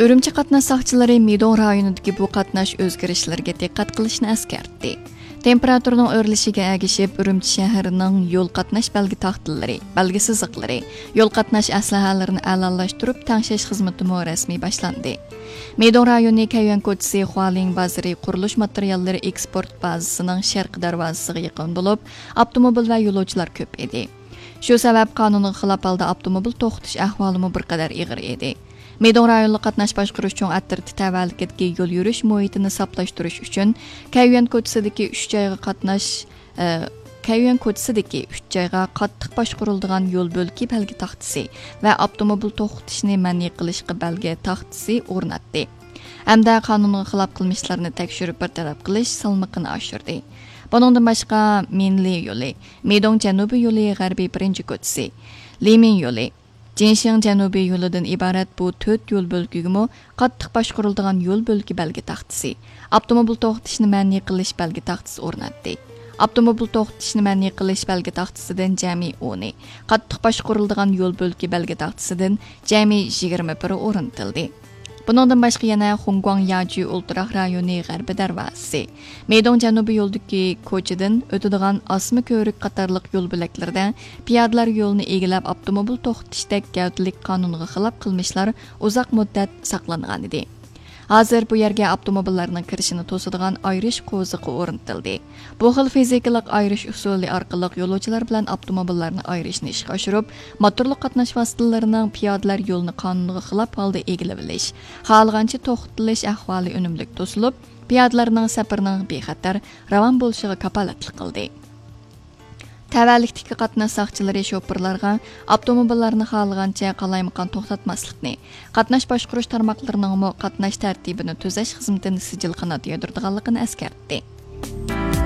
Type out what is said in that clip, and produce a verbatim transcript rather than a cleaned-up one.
ئۈرۈمچى قاتناش ساقچىلىرى مىدوڭ رايونىدىكى بۇ قاتناش ئۆزگىرىشلىرىگە دىققەت قىلىشنى ئەسكەرتتى. تېمپېراتۇرىنىڭ ئۆرلىشىگە ئەگىشىپ، ئۈرۈمچى شەھىرىنىڭ يول قاتناش بەلگە تاختىلىرى، بەلگە سىزىقلىرى، يول قاتناش ئەسلىھەلىرىنى ئەلالاشتۇرۇپ تەڭشەش خىزمىتىمۇ رەسمىي باشلاندى. مىدوڭ رايونى كەييۈەن كوچىسى خۇالىڭ بازىرى قۇرۇلۇش ماتېرىياللىرى ئېكسپورت بازىسىنىڭ شەرقىي دەرۋازىسىغا يېقىن بولۇپ، ئاپتوموبىل ۋە يولۇچىلار كۆپ ئىدى. شۇ سەۋەب قانۇنغا خىلاپ ھالدا ئاپتوموبىل توختىتىش ئەھۋالىمۇ بىر قەدەر ئېغىر ئىدى. مىدوڭ رايونلۇق قاتناش باشقۇرۇش چوڭ ئەترىتى تەۋەلىكىدىكى يول يۈرۈش مۇھىتىنى ساپلاشتۇرۇش ئۈچۈن، كەييۈەن كوچىسىدىكى ئۈچ جايغا قاتناش، ئە، كەييۈەن كوچىسىدىكى ئۈچ جايغا قاتتىق باشقۇرۇلىدىغان يول بۆلىكى بەلگە تاختىسى ۋە ئاپتوموبىل توختىتىشنى مەنئى قىلىشقا بەلگە تاختىسى ئورناتتى. ھەمدە قانۇنغا خىلاپ قىلمىشلارنى تەكشۈرۈپ بىر تەرەپ قىلىش سالمىقىنى ئاشۇردى. بۇنىڭدىن باشقا، مىنلى يولى، مىدوڭ جەنۇبىي يولى غەربىي بىرىنچى كوچىسى، لىمىن يولى، جىنشىڭ جەنۇبىي يولىدىن ئىبارەت بۇ تۆت يول بۆلىكىگىمۇ قاتتىق باشقۇرۇلىدىغان يول بۆلىكى بەلگە تاختىسى، ئاپتوموبىل توختىتىشنى مەنئى قىلىش بەلگە تاختىسى ئورناتتى. ئاپتوموبىل توختىتىشنى مەنئى قىلىش بەلگە تاختىسىدىن جەمئىي ئونى، قاتتىق باشقۇرۇلىدىغان يول بۆلىكى بەلگە تاختىسىدىن جەمئىي يىگىرمە بىرى ئورنىتىلدى. بۇنىڭدىن باشقا يەنە خۇڭگۇاڭ ياجۈ ئولتۇراق رايونى غەربىي دەرۋازىسى، مىدوڭ جەنۇبىي يولدىكى كوچىدىن ئۆتىدىغان ئاسما كۆۋرۈك قاتارلىق يول بۆلەكلىرىدە پىيادىلەر يولىنى ئىگىلەپ ئاپتوموبىل توختىتىشتەك گەۋدىلىك قانۇنغا خىلاپ قىلمىشلار ئۇزاق مۇددەت ساقلانغانىدى. ھازىر بۇ يەرگە ئاپتوموبىللارنىڭ كىرىشىنى توسىدىغان ئايرىش قوزۇقى ئورنىتىلدى. بۇ خىل فىزىكىلىق ئايرىش ئۇسۇلى ئارقىلىق يولۇچىلار بىلەن ئاپتوموبىللارنى ئايرىشنى ئىشقا ئاشۇرۇپ، موتورلۇق قاتناش ۋاسىتىلىرىنىڭ پىيادىلەر يولىنى قانۇنغا خىلاپ ھالدا ئىگىلىۋېلىش، خالىغانچە توختىتىلىش ئەھۋالى ئۈنۈملۈك توسۇلۇپ، پىيادىلەرنىڭ سەپىرىنىڭ بىخەتەر، راۋان بولۇشىغا كاپالەتلىك قىلدى. تەۋەلىكتىكى قاتناش ساقچىلىرى شوپۇرلارغا ئاپتوموبىللارنى خالىغانچە قالايمىقان توختاتماسلىقنى، قاتناش باشقۇرۇش تارماقلىرىنىڭمۇ قاتناش تەرتىپىنى تۈزەش خىزمىتىنى سىجىل قانات يايدۇرىدىغانلىقىنى ئەسكەرتتى.